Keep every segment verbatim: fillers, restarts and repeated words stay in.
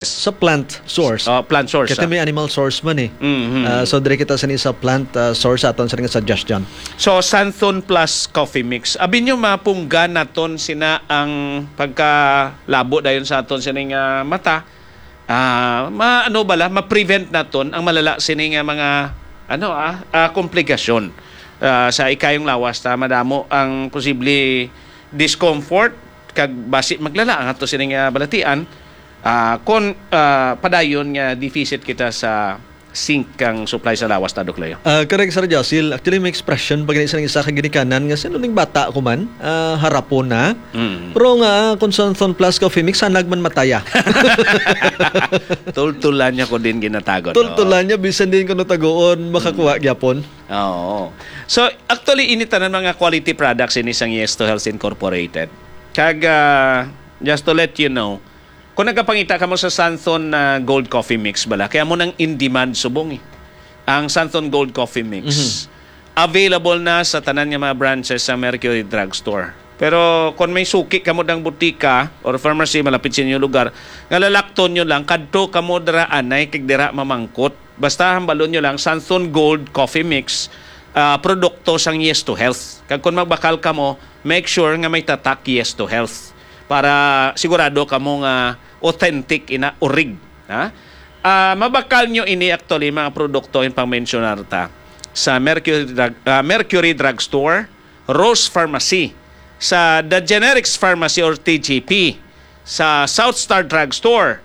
Sa plant source. Oh, plant source. Kasi Ah. may animal source man eh. Mhm. Ah, so, diri kita sa sa plant ah, source aton sa nga suggestion. So, Santhon Plus Coffee Mix. Abi nyo, mapunggan naton sina ang pagkalabo dayon sa aton sining ah, mata. Ah, ma ano bala, ma-prevent naton ang malala sini nga mga ano ah, ah, komplikasyon ah, sa ikayong lawas ta madamo ang posible discomfort kag basi maglala ang ato sining ah, balatian ah, kon ah, padayon nga deficit kita sa zinc kang supply sa lawas ta, Doc Leo. Ah, correct, Sir Josil. Actually, may expression pa gani sa isa ka ginikanan nga sino ning bata ko man, ah, harapon na. Mm. Pero nga, kung sa Thon Plus Coffee Mix, hanag man mataya. Tultulan niya ko din ginatago. Tultulan niya, bisan din kuno taguon, makakuha gyapon. Oo. So, actually, ini tanan mga quality products ini sang Yes to Health Incorporated. Kag, ah, just to let you know, kung nagapangita kamo sa Santhon na Gold Coffee Mix bala, kaya mo nang in demand subong eh. Ang Santhon Gold Coffee Mix, available na sa tanan nga mga branches sa Mercury Drugstore. Pero kung may suki kamo dang butika or pharmacy malapit sa inyong lugar, nga lalakton nyo lang, kadto kamo dira anay kag dira mamangkot. Basta hambalon nyo lang, Santhon Gold Coffee Mix, ah, produkto sang Yes to Health. Kag kung magbakal kamo, make sure nga may tatak Yes to Health para sigurado kamo nga authentic ina urig, ha? Ah, mabakal nyo ini actually mga produkto yung pang-mensionar ta sa Mercury Drug, ah, Mercury Drugstore, Rose Pharmacy, sa The Generics Pharmacy or T G P, sa South Star Drugstore,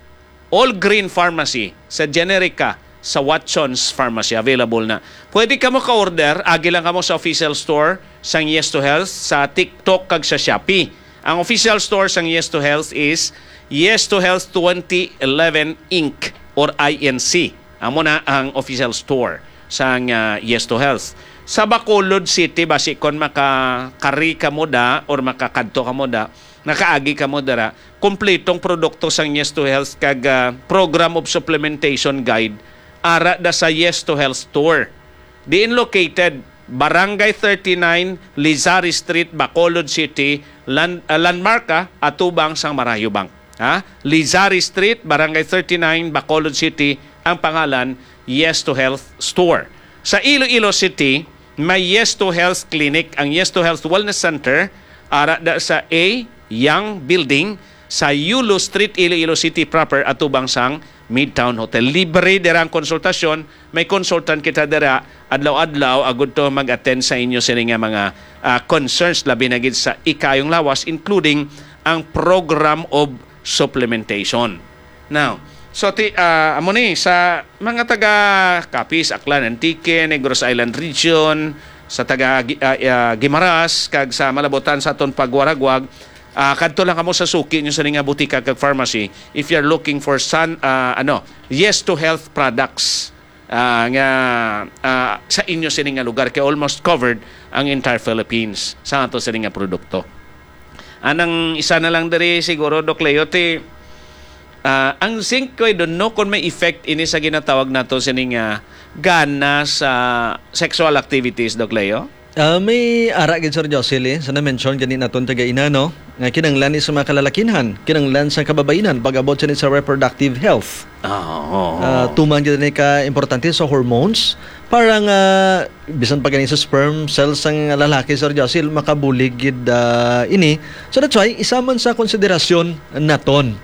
All Green Pharmacy, sa Generica, sa Watson's Pharmacy. Available na. Pwede kamo ka-order, agi lang kamo sa official store sang Yes to Health sa TikTok kag sa Shopee. Ang official store sang Yes to Health is Yes to Health twenty eleven Inc or I N C. Amo na ang official store sang ah, Yes to Health. Sa Bacolod City, basi kon makakari kamo da or makakadto kamo da, nakaagi kamo dira, kompletong produkto sang Yes to Health kag ah, Program of Supplementation Guide ara da sa Yes to Health Store. Diin located, Barangay thirty-nine, Lizari Street, Bacolod City, Lan, ah, Landmark, ah, atubang sang Marayo Bank. Ha? Lizari Street, Barangay thirty-nine, Bacolod City, ang pangalan, Yes to Health Store. Sa Iloilo City, may Yes to Health Clinic, ang Yes to Health Wellness Center, ara da sa A Young Building, sa Yulo Street, Iloilo City proper, atubang sang Midtown Hotel. Libre dira ang konsultasyon. May consultant kita dira adlaw-adlaw agud to mag-attend sa inyo sini nga mga ah, concerns, labi na gid sa ikayong lawas, including ang program of supplementation. Now, so ti, ah, amo ni sa mga taga Capiz, Aklan, Antique, Negros Island Region, sa taga Gi- ah, ah, Guimaras kag sa malabutan sa aton pagwaragwag, ah, kadto lang kamo sa suki nyo sa nga butika kag pharmacy if you're looking for san ah, ano, Yes to Health products ah, nga ah, sa inyo sini nga lugar kay almost covered ang entire Philippines sa ato sini nga produkto. Anang isa na lang diri siguro, Doc Leo, ti ah, ang zinc ko, I don't know kung may effect ini sa ginatawag nato sini nga gana sa sexual activities, Doc Leo. Ah, may ara gid, Sir Jocelyn, sa na-mention gani naton kagaina, no, nga kinanglan ni sa mga kalalakinhan, kinanglan sa kababainan pag-abot sini sa reproductive health. Oo. Ah, tuman gid ni ka importante sa hormones para nga bisan pa gani sa sperm cells sang lalaki, Sir Jocelyn, makabulig gid ah, ini. So that's why isa man sa konsiderasyon naton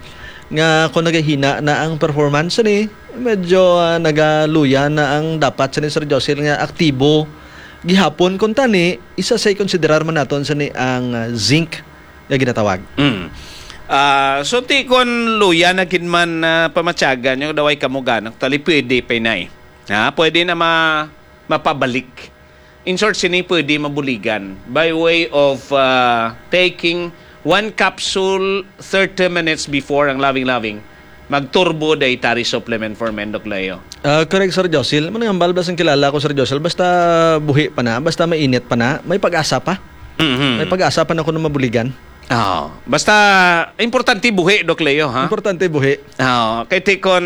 nga kung nagahina na ang performance ni, medyo ah, nagaluya na ang dapat sa ni Sir Jocelyn nga aktibo gihapon. Kung tani, isa sa ikonsiderar man naton sa ni ang ah, zinc nga ginatawag. Mm. Ah, so ti kon luya na gid man ah, pamatyagan yung daway kamugan, actually pwede pa inay. Ha, pwede na ma mapabalik. In short, sini pwede mabuligan by way of ah, taking one capsule thirty minutes before ang loving-loving. Magturbo dietary supplement for men, Doc Leo. Ah, correct, Sir Josil. Manang hambal ba sang kilala ko, Sir Josil? Basta buhi pa na, basta mainit pa na, may pag-asa pa. Mhm. May pag-asa pa na kuno mabuligan. Oh, basta importante buhi, Doc Leo, ha? Importante buhi. Oh, kay ti kon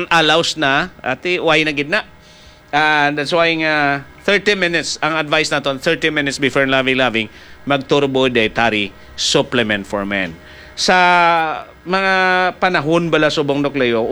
allows na, ati why na gid na? And that's why nga thirty minutes ang advice naton, thirty minutes before loving loving, mag turbo dietary supplement for men. Sa mga panahon bala subong, Doc Leo,